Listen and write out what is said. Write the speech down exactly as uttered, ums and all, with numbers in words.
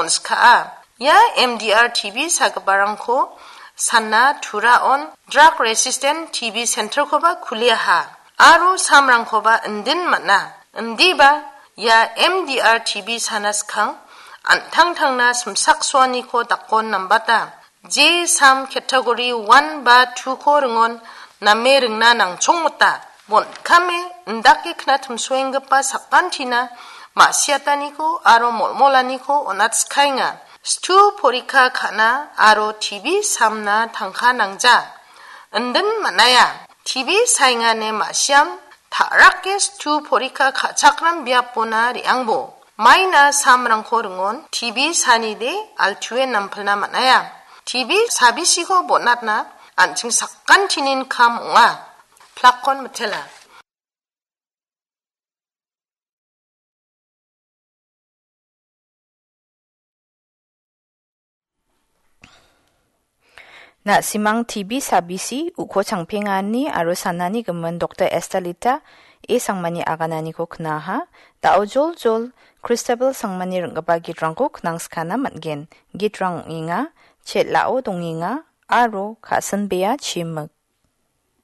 on·skaa. Ia M D R T B sagiparangko sana Turaon drug resistant T B centerkoba kuliaha. Aro samrangkoba indin man·a. Indiba ia M D R T B sana skang an·tangtangna simsaksoaniko dakon nambata. Je sam category one ba two-ko ringon name ringna nangchongmota. Bon·kame indake knatimsoenggipa sakantina ma·siataniko aro molmolaniko on·atskaenga. Stu porikka ka·na aro T B samna tangka nangja. Indin man·aia. T B saengane ma·siam ta·rake stu porikka ka·chakram biapona re·angbo. Maina samrangko ringon T B sanide altue nampilna man·aia. T B sabisiko bonatna an·ching sakantinin kam ong·a. Plakon mitela. Na·simang T B sabisi uko changpengani aro sanani gimin Doktor Estalita E Sangmani agananiko knaha, da·o joljol Kristabel Sangmani ring·gipa gitrangko knangskana man·gen. Gitrang ong·enga, Chet La·o Dongenga aro Ka·sinbea Chimik.